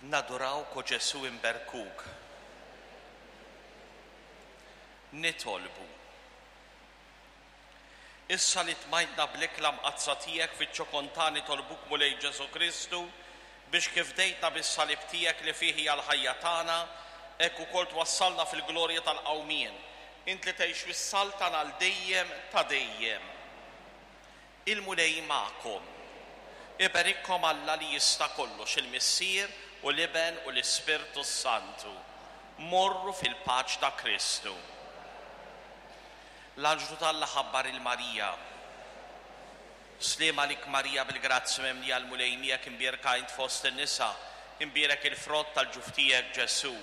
Nadurawk, o Ġesù inberkuk. Nitolbu. Issa li tmajtna bl-ikla mqaddsa tiegħek fiċ-ċokon ta' nitolbuk Mulej Ġesù Kristu biex kif fdejtna bis-salib tiegħek li fih hija l-ħajja tagħna, hekk ukoll twassalna fil-glorja tal-qawmien. Int li tgħix u ssaltan għal dejjem ta' dejjem. Il-Mulej magħkom. Iberikkom Alla li jista' kollox, il-Missier u l-Iben u l-Ispirtu s-Santu. Morru fil-paċ ta' Kristu. L-anġlu t'Alla ħabbar 'il Marija. Sliem għalik Marija bil-grazzja mimlija l-Mulej miegħek imbierka int fost in-nisa, imbierek il-frott tal-ġuf tiegħek Ġesù.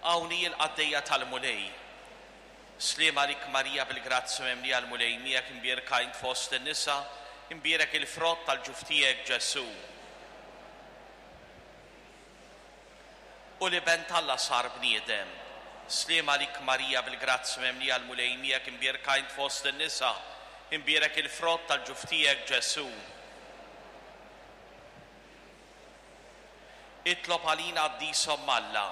Hawn hi l-qaddejja tal-Mulej. Sliem għalik Marija bil-grazzja mimlija l-Mulej miegħek imbierka int fost in-nisa, imbierek il-frott tal-ġuf tiegħek Ġesù. U l-Iben t'Alla sar bniedem. Sliem għalik Marija bil-grazzja mimlija l-Mulej miegħek imbierka int fost in-nisa, imbierek il-frott tal-ġuf tiegħek Ġesù. Itlob għalina Qaddis Omm Alla.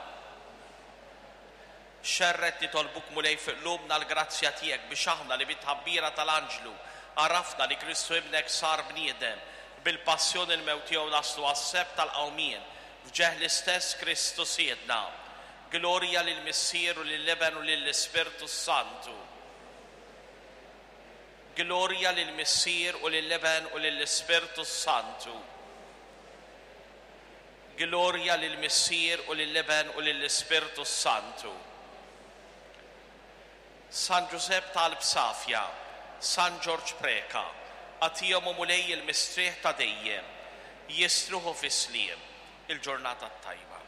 Xerred nitolbuk Mulej fi qlubna l-grazzja tiegħek biex aħna li bit-tħabbira tal-anġlu għarafna li Kristu Ibnek sar bniedem, bil-passjoni u l-mewt tiegħu naslu għas-sebħ tal-qawmien, f'ġeħ l-istess Kristu Sidna. Glorja lill-Missier u lill-Iben u lill-Ispirtu s-Santu. Glorja lill-Missier u lill-Iben u lill-Ispirtu s-Santu. Glorja lill-Missier u lill-Iben u lill-Ispirtu s-Santu. San Ġużepp ta' qalb safja, San Ġorġ Preca, agħtihom o Mulej il-mistrieħ ta' dejjem, jistrieħu fis-sliem. Il-ġurnata t-tajba.